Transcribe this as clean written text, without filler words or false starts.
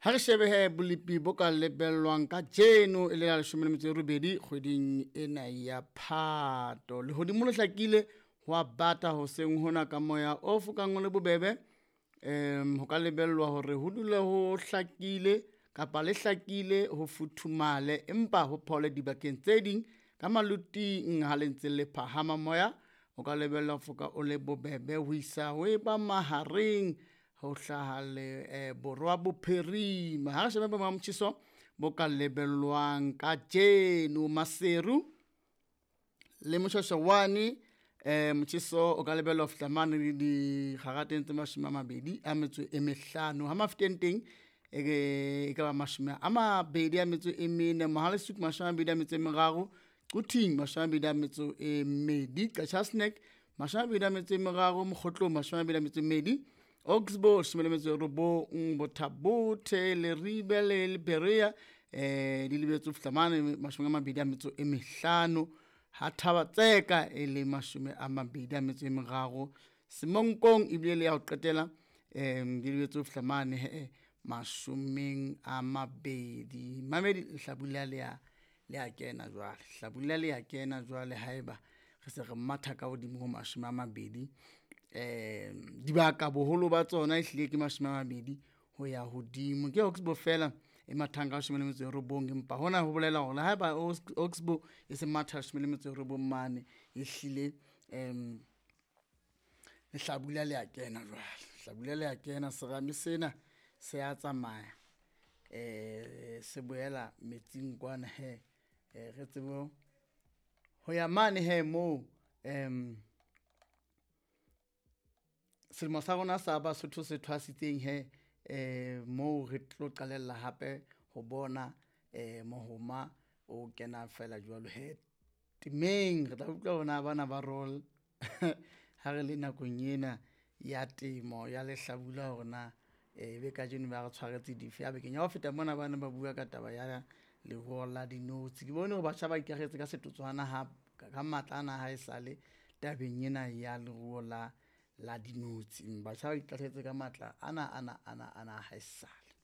Ha re shebe he bolepi bo ka lebellwang kajeno e le la 18 kgweding ena ya Phato. Lehodimo le hlakile ho a bata hoseng hona ka moya o fokang o le bobebe. Ho ka lebellwa hore ho dule ho hlakile kapa le hlakile ho futhumale, empa ho phole dibakeng tse ding ka maluting ha le ntse le phahama moya o ka lebellwa ho foka o le bobebe ho isa ho eba mahareng ho hlaha le borwa bophirima. Ha re shebe boemo ba motjheso bo ka lebellwang kajeno Maseru le Moshwashwawane, motjheso o ka lebellwa ho fihla mane le dikgarateng tse 25. Ha Mafeteng teng e ka ba 24, Mohale's Hoek 23, Quthing 22, Qacha's Nek 23, Mokhotlong 22, Oxbow 19, Botha-Bothe, Leribe le Berea di lebetse ho fihla mane 25, ha Thaba-Tseka e le 23, Semonkong ebile le ya ho qetela di lebetse ho fihla mane he 20. Mamedi lehlabula le a kena jwale, hlabula le a kena jwale haeba re se re matha ka hodimo ho 20. Dibaka boholo ba tsona ehlile ke 20 ho ya hodimo. Ke Oxbow fela e mathang ka 19, empa hona ho bolela hore le haeba Oxbow e se matha 19 mane, ehlile lehlabula le a kena jwale, hlabula le a kena serame sena se a tsamaya se boela metsing kwana he, re tsebe ho ya mane he moo selemo sa rona sa Basotho se thwasitseng he, moo re tlo qalella hape ho bona mohoma o kena fela jwalo he temeng. Re tla utlwa hore na bana ba roll ha re le nakong ena ya temo ya lehlabula hore na ebe kajeno ba re tshwaretse dife. A bekeng ya ho feta mona bane ba bua ka taba ya leruo la dinotshi. Ke bone hore batjha ba ikakgetse ka setotswana ha ka matla ana ha esale tabeng ena ya leruo la dinotshi. Batjha ba ikahletse ka matla ana ana ana ana haesale.